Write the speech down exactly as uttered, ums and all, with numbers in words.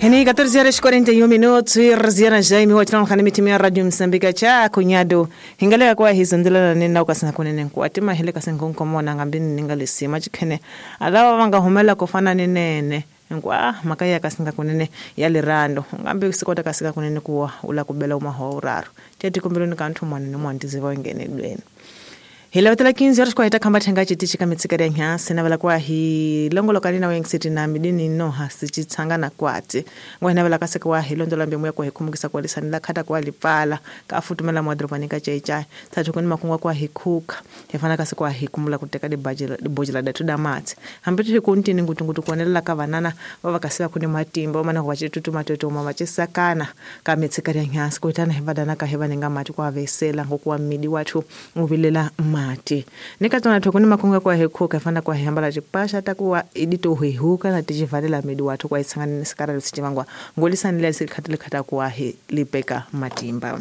Ni catorze horas e quarenta e um minutos e Rosiana Jaime wachina mitimu ya Radio Msambika cha kunyado hingaleka kwa hizondela nena ukasina kunene kwa tima hele kasinkonkomona ngambini ningalisima chikhene alawa vangahumela kufana ninene ngwa makaya kasinga kunene ya lirando ngambe sikota kasika kunene kuwa ula kubela umaho uraro tete kumbeloni kanthu mwana ni mwandizi wengene dweni. Hila quinze horas kwa kamba thenga chitichi kamitsikari ya nyasi na vala kwa hi longolo kalina wengisiti na midini noha sichitsangana kwati ngwena vala kaseka wa hi londola mbemu ya kwa hikumukisa kwa lisanila khata kwa lipala ka futumela mwadropani ka chaichai thathu kuni makungwa kwa hikhuka hefana kasi kwa hikumula kuteka dibajela dibojela datu damati hambitu hikuntini ngutungutu kuonelela ka vanana vava kasiva kuni matimba mana kwa chitutu matoto mama chisakana kamitsikari ya nyasi kuitana hivadana ka hivanenga mati kwa vesela ngokuwa midi watu uvilela mati. Nikatona thokuni makunga kwa hekhuka fana kwa hambala chipasha takuwa idito huihuka na tichivalela midi watu kwa isangana nisikara lusichivangwa ngolisanile sikhathile khata kwa he lipeka matimba.